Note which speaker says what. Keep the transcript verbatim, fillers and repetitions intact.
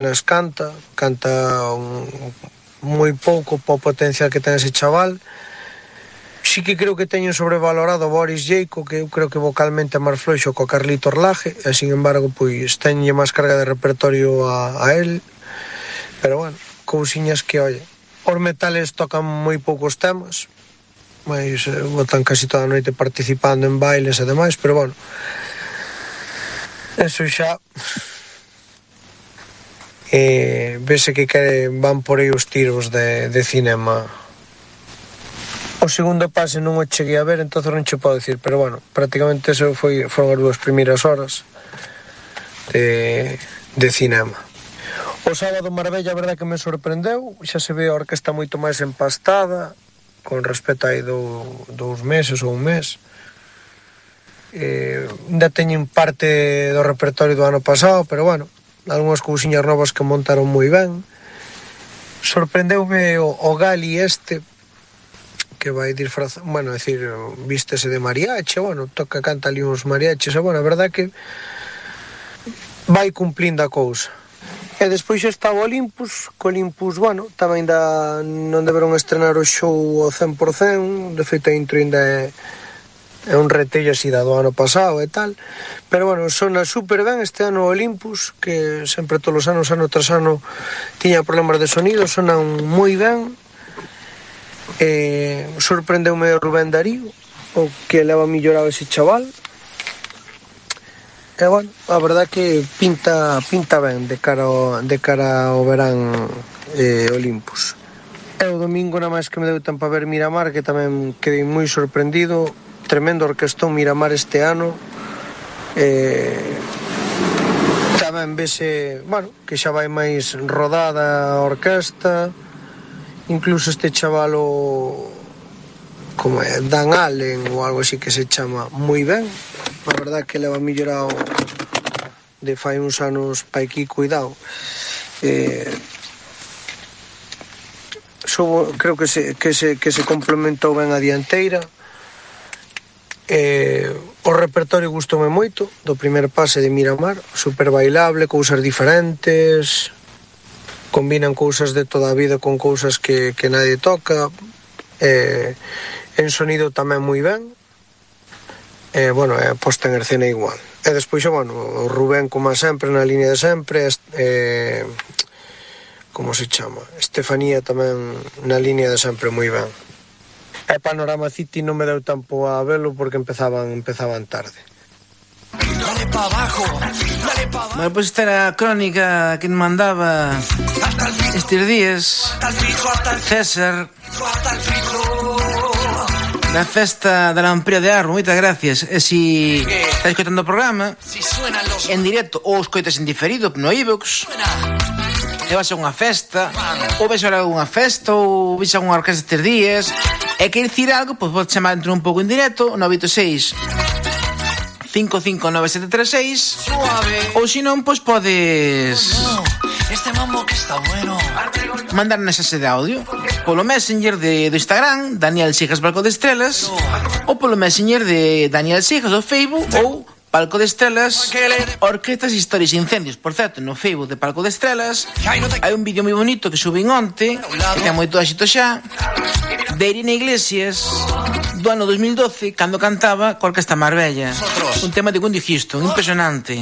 Speaker 1: Nas canta, canta un, moi pouco po potencial que ten ese chaval. Sí que creo que teñen sobrevalorado Boris Jayco, que eu creo que vocalmente é máis floixo co Carlito Orlaje, e sin embargo, pois, teñe máis carga de repertorio a, a él. Pero bueno, cousiñas que, oye, os metales tocan moi poucos temas, mas eh, botan casi toda a noite participando en bailes e demais, pero bueno, eso xa... Eh, vese que quere, van por aí os tiros de, de cinema. O segundo pase non o cheguei a ver, entonces non che podo dicir, pero bueno, prácticamente eso foi, foron as dúas primeiras horas de, de cinema. O sábado Marbella, a verdade que me sorprendeu, xa se ve a orquesta moito máis empastada con respecto aí do, dous meses ou un mes. Eh, ainda teñen parte do repertorio do ano pasado, pero bueno, algunhas cousiñas novas que montaron moi ben. Sorprendeume o, o Gali este, que vai disfrazar, bueno, decir, vístese de mariachi, bueno, toca, canta ali uns mariachis, e bueno, a verdade que vai cumplindo a cousa. E despois está o Olympus, que Olympus, bueno, tamén ainda non deberon estrenar o show ao cen por cen, de feito a intro ainda é é un retello así da do ano pasado e tal, pero bueno, sona super ben este ano o Olympus, que sempre todos os anos, ano tras ano tiña problemas de sonido, sonan moi ben. Eh, sorprendeume o Rubén Darío, o que leva millorado ese chaval, e bueno, a verdade que pinta pinta ben de cara ao, de cara ao verán eh, Olympus. E o domingo nada máis que me deu tempo a ver Miramar, que tamén quedei moi sorprendido. Tremendo orquestón Miramar este ano. Eh, tamén vese, bueno, que xa vai máis rodada a orquesta. Incluso este chavalo, como é, Dan Allen ou algo así que se chama, moi ben. A verdade que leva millorado de fai uns anos pa aquí, cuidado. Eh, so, creo que se, que, se, que se complementou ben a dianteira. Eh, o repertorio gustoume moito do primer pase de Miramar, super bailable, cousas diferentes, combinan cousas de toda a vida con cousas que, que nadie toca, eh, en sonido tamén moi ben, eh, bueno, é posta en escena igual. E despois, bueno, o Rubén como sempre na línea de sempre, eh, como se chama, Estefanía tamén na línea de sempre moi ben. E Panorama City non me deu tempo a velo porque empezaban empezaban tarde.
Speaker 2: Dale pa abajo, dale pa abajo.
Speaker 3: Bueno, pues esta era a crónica que me mandaba estes días César da festa da Lamprilla de Arbo. Moitas gracias. E si estás escoitando o programa en directo ou escoitas en diferido no iVoox, e vas a unha festa, ou ves a unha festa, ou ves a unha orquesta estes días, e quer dicir algo, pois podes chamar dentro un pouco en directo, nove oito seis, cinco cinco nove sete tres seis, ou se non, pois podes
Speaker 2: Este mambo que está bueno.
Speaker 3: mandar mensaxe de audio polo Messenger de, do Instagram, Daniel Sijas Palco de Estrelas, ou polo Messenger de Daniel Sijas do Facebook, ou Palco de Estrelas, Orquestas, Historias e Incendios. Por certo, no Facebook de Palco de Estrelas hai un vídeo moi bonito que subín onte, que ten moito éxito xa, de Irina Iglesias do ano dos mil doce, cando cantaba co Orquesta Marbella, un tema de Wendy Houston, impresionante.